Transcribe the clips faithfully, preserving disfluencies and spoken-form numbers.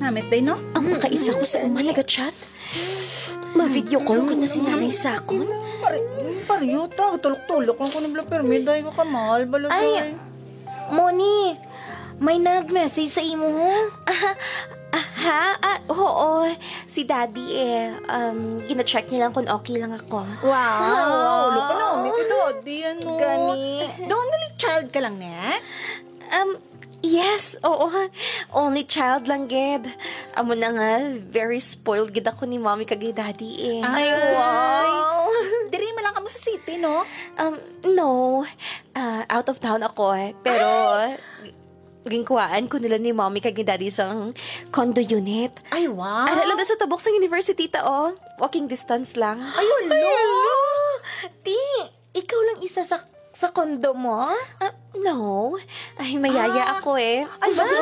Amit day, no? Ang makaisa ko sa uma nag-chat. Ma-video call ko na si nanay sa akon. Pare, pareho ta. Tulok-tulok ang kuno bala permi. Day ka kamahal, bala, Ay, day. Moni, may nag-message sa imo, ho? Ah, ah, ha? Ah, oo. Si Daddy, eh. Um, gina-check niya lang kung okay lang ako. Wow! Wow. Look, ano, may kito, di ano. Gani. The only child ka lang, ne? Um, yes, oo. Only child lang, gid. Amo na nga, very spoiled gid ako ni Mommy kag ni Daddy, eh. Ay, Ay. wow. Diri man lang kamo sa city, no? Um, no. Ah, out of town ako, eh. Pero, ginkuhaan ko nila ni Mommy kag ni Daddy sang condo unit. Ay, wow. Ara lang sa tabok sang university ta, oh. Walking distance lang. Ay, hala. Ti, ikaw lang isa sa, sa condo mo? Ah, no. Ay, mayaya Ah. ako, eh. Ay, grabe.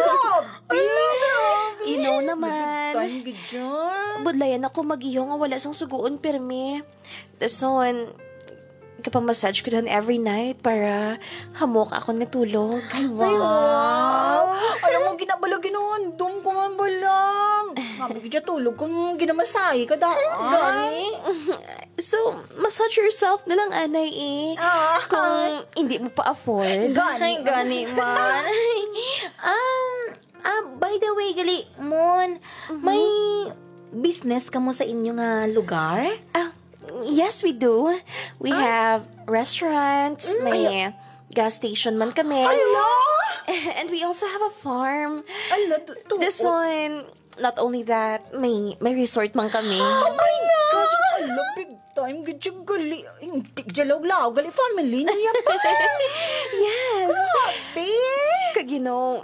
You know naman. Big time gid dyan. Budlayan ako mag-iho nga wala sang sugoon, permi. Dason, kapamassage ko dan every night para hamok ako natulog. Ay, wow. Ay, wow. Alam mo, ginabala, ginahandom ko man bala. Mami, gid tulog kung ginamasahe ka daan. Gani? So, massage yourself na lang, anay, eh. Ah. Kung hindi mo pa afford. Gani. Ay, gani man. Um, ah, by the way, gali, Mon, Mhm. may business kamo sa inyo nga lugar? Ah, yes, we do. We Ah. have restaurants, Mm. may Ay. gas station man kami. Hala! And we also have a farm. Ala, tu-, tu-, This one, not only that, may, may resort man kami. Oh my gosh! Ala, big time gid siya gali. Hindi siya lawlaw, gali family niya pa. Yes. Grabe! Kag, you know,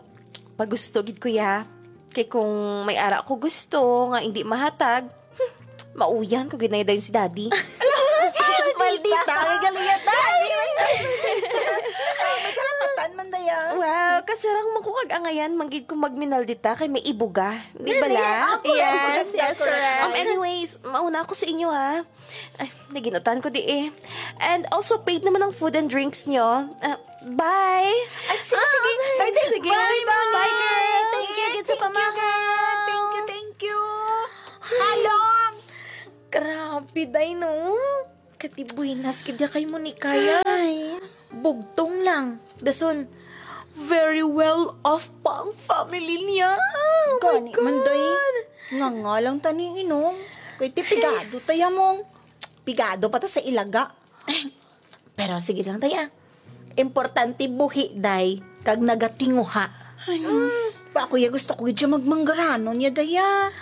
pagusto gid ko ya. Kay kung may ara ko gusto nga hindi mahatag, hmm, mauyan ko gid na dayon si Daddy. Maldita, ay, gali ya, Daddy. Ah, may karapatan man daya. Well, kasarang man ko kag angayan man gid ko magminaldita kay may ibuga. Di ba Gali, la? ako, Yes, ako, yes, ako. correct. Um, anyways, mauna ako sa inyo, ha. Ay, naginutan ko di eh. And also, paid naman ang food and drinks nyo. Ah, bye! At sige, Ah, sige. Ay, di, sige. Bye, Bye, bye. Bye, girls. Thank you, Sige, thank you, sa pamahaw. girl. Thank you, thank you. Halong! Grabe, day, no? Katibuinas gid ya kay Monica, ya. Ay. Bugtong lang. Dason, very well off pa ang family niya. Oh my Gani man, day. God. Nga nga lang tani inom. Kay ti pigado ta ya mong. Pigado pa ta sa ilaga. Pero sige lang, day, ah. Importante buhi, day, kag nagatinguha. Ay, pa ako ya gusto ko gid siya magmanggaranon ya, day, ah.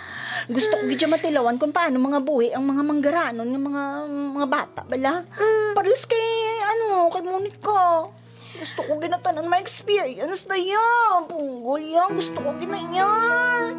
Gusto ko gid siya matilawan kung paano mga buhi ang mga manggaranon nga mga, mga bata bala. Mm. Parehas kay, ano, kay Monica. Gusto ko ginatanan ma-experience na yan. Punggol yan. Gusto ko ginayan.